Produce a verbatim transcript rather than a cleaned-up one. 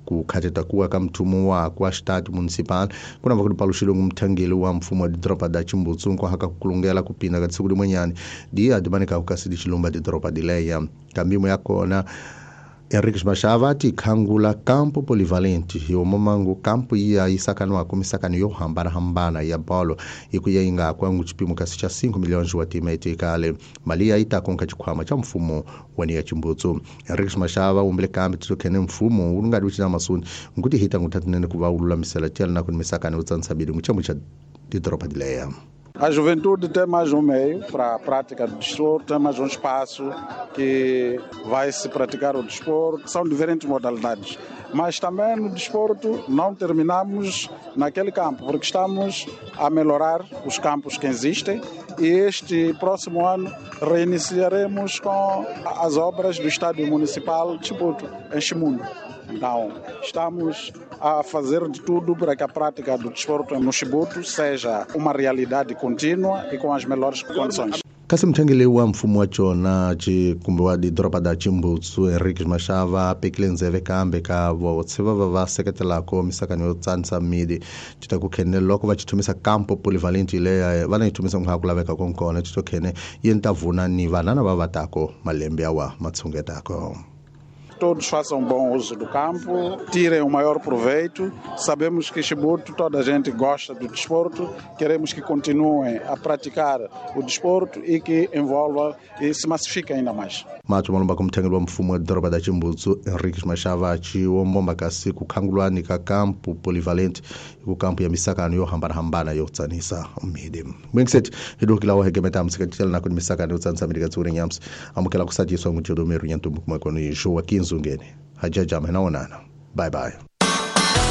Ku khateta kuwa ka mthumo wa kwa Estado Municipal kuna va ku paluxile ngumthangeli wa mfumo wa didoropa da Chimbutsu nkwahaka kukulungela kupinda ka tsiku limwenyani dia dimanika kukasi dichilumba didoropa dileya kambimo ya kona. Henriques Machava ti khangula campo polivalente yomamangu campo iya isakanwa kumisakano yo hambana hambana ya bolo ikuya inga kwangu chipimo kasi cha cinco milhões wa timete kale mali ya itakonka chikwama cha mfumo wani ya Chimbutsu. Henriques Machava umbele kambi tsokhene mfumo ulungadi uchina masuni nguti hita ngutatinene kuva ululamisela tela na kumisakano yotsansabili nguchamo cha didoropa dileya. A juventude tem mais um meio para a prática do desporto, tem mais um espaço que vai se praticar o desporto. São diferentes modalidades, mas também no desporto não terminamos naquele campo, porque estamos a melhorar os campos que existem e este próximo ano reiniciaremos com as obras do Estádio Municipal de Chibuto, em Chimundo. Então, estamos a fazer de tudo para que a prática do desporto no Chibuto seja uma realidade contínua e com as melhores condições. Kasi mthengeli wa mfumo wa chona kumbe wa didoropa da Chimbutsu Henriques Machava apekile ndzeve kambe ka votse va va va seketelako misakano yo tsanisa midi tita ku khene loko va chithumisa campo polivalente leya va na yi thumisa nga ku laveka konkona tito khene yi nta vuna ni vanana va vatako malembe yawa matshungetako. Todos façam bom uso do campo, tirem o maior proveito. Sabemos que Chibuto, toda a gente gosta do desporto, queremos que continuem a praticar o desporto e que envolva e se massifique ainda mais. Mato malomba kumthengeli wa mfumo wa doroba da Chimbutsu Henriques Machava chiwombomba kasi kukhangulwani ka campo polivalente ku campo ya misakano yo hambana-hambana yo tsanisa midi. Mwingisethi hidukila wa hegemeta msikatitela na misakano yo tsanisa midi katsuri nyamsi amukela kusatiswa ngujodo meru nyantumbu kumakoni Joaquim Zungene. Hajaja mena onana. Bye bye.